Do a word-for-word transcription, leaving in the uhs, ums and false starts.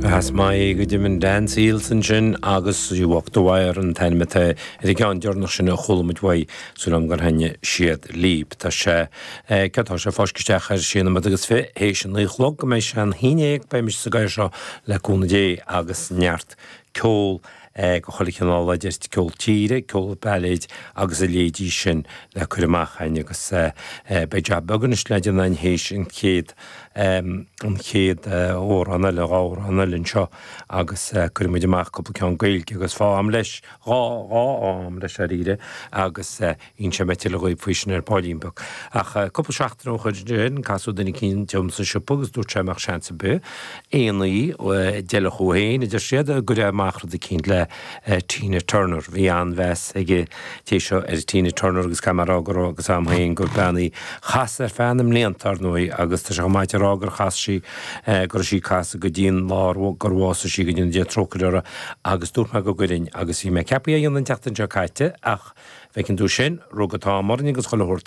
As maith go deimhin Dan Seals ansin agus You Walk the Wire an t-ainm atá ar an gceann deireanach sin a chuala muid uaidh súil agam gur thaitnigh siad libh. Tá sé tá sé fáiscthe isteach ar sé nóiméad agus fiche théis a naoi a chlog go mbeidh sé an haon déag beidh mise sa gcathaoir seo le cúnamh Dé agus neart ceol go chuile chineál idir ceol tíre, ceol bailéid agus a leithéidí sin le cur amach againn agus beidh jab beag anois le déanamh againn théis an chéad an chéad amhrán eile dhá amhrán eile anseo agus cuirfidh muid amach cúpla ceann Gaeilge agus fá am leis dhá dhá am leis dáiríre agus inseoidh mé tuilleadh dhaoibh faoi sin ar baillín beag. Ach cúpla seachtain ó shin casadh duine eicínt liom sa siopa agus dúirt sé mbeadh seans ar bith aon ní d'fheilfeadh féin a deir siad go gcuirfeá amach rud eicínt le Tina Turner. Bhí an-mheas ag an té seo ar Tina Turner agus caithfidh mé a rá go raibh agus am féin gur bean í chas ar feadh na mblianta ar ndóigh agus tá sé chomh maith a rá gur chas sí go raibh sí ag casadh go dtí an lá gur bhásaigh sí go dtí an Dia trócaire uirthi agus dúirt mé go gcuirfinn agus bhí mé ceaptha é a dhéanamh an tseachtain seo caite ach bhfeiceann tú sin, rug an t-am orainn agus chuile shórt.